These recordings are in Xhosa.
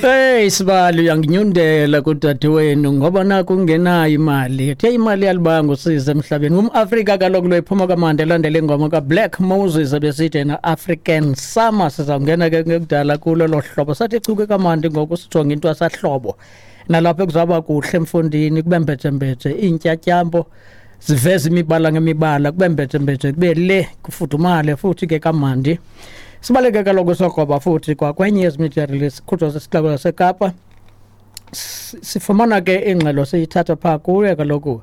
Hey sibali uyanginyundela kudadewenu ngoba naku ungenayo imali. Uthe imali yalibanga usize emhlabeni. UmAfrika kaloku lo iphuma kamandi elandela ingoma kaBlack Moses ebesithi yena African Summer. Sizawungena ke ngekudala kulo lo hlobo. Sathi chuke kamandi ngoku sijonge into asahlobo. Nalapho kuzawuba kuhle emfundini kube mbejembeje iintyatyambo ziveza imibala ngemibala kube mbejembeje kube le kufudumale futhi ke kamandi. Sibaleke kaloku sogoba futhi kwakwenye yezi media release khutshwa sisixeko saseKapa. Sifumana ke ingxelo siyithatha phaa kuye kaloku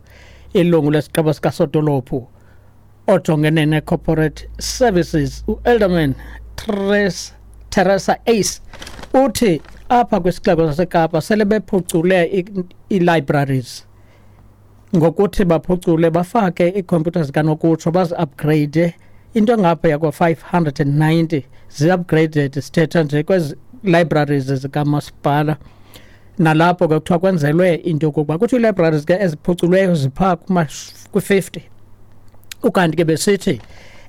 ilungu lesigqeba sikasodolophu ojongene ne-corporate services uelderman Teresa Ace uthi apha kwisixeko saseKapa sele bephucule ii-libraries ngokuthi baphucule bafake iikhompyutha zikanokutsho bazi-upgrade into engaphaya kwa-590 zi-upgraded sithetha nje kwezi libraries zikamasipala. Nalapho ke kuthiwa kwenzelwe into yokokuba kuthiwa ii-libraries ke eziphuculweyo ziphaa kwi-50, ukanti ke besithi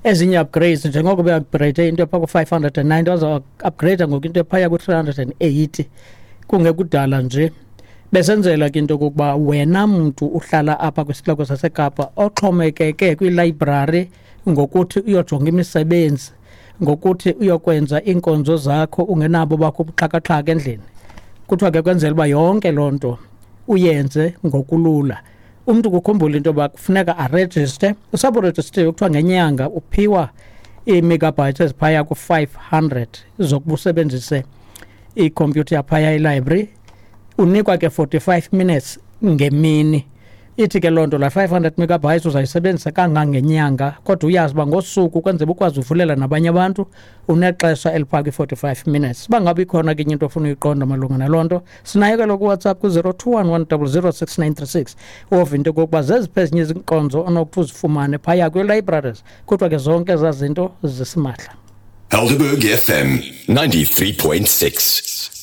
ezinye upgrades njengoko be-upgrade into ephaa ku-590 baza-upgrade ngoku into ephaya ku-380 kungekudala nje, besenzela ke into yokokuba wena mntu uhlala apha kwisixeko saseKapa oxhomekeke kwilayibrari ngokuthi uyojonga imisebenzi, ngokuthi uyokwenza iinkonzo zakho ungenabo bakho ubuxhakaxhaka endlini. Kuthiwa ke kwenzela uba yonke loo nto uyenze ngokulula. Umntu kukhumbula into yoba kufuneka arejiste. Usaburejistile kuthiwa ngenyanga uphiwa ii-megabytes eziphaya ku-500 zokuba usebenzise ikhompyutha yaphaya elibrary. Unikwa ke 45 minutes ngemini. Ithi ke loo nto la 500 megabytes uzayisebenzisa kangangenyanga, kodwa uyazi uba ngosuku kwenzela ukwazi uvulela nabanye abantu unexesha eliphaa kwi-45 minutes. Uba ngabe ikhona ke enye into ofuna uyiqonda malunga naloo nto, sinayo kaloku kuWhatsApp ku-021 100 6936 wova into yokokuba zeziphi ezinye izinkonzo onokuthi uzifumane phaya kwii-libraries. Kuthiwa ke zonke ezaa zinto zisimahla. Helderberg FM 93.6.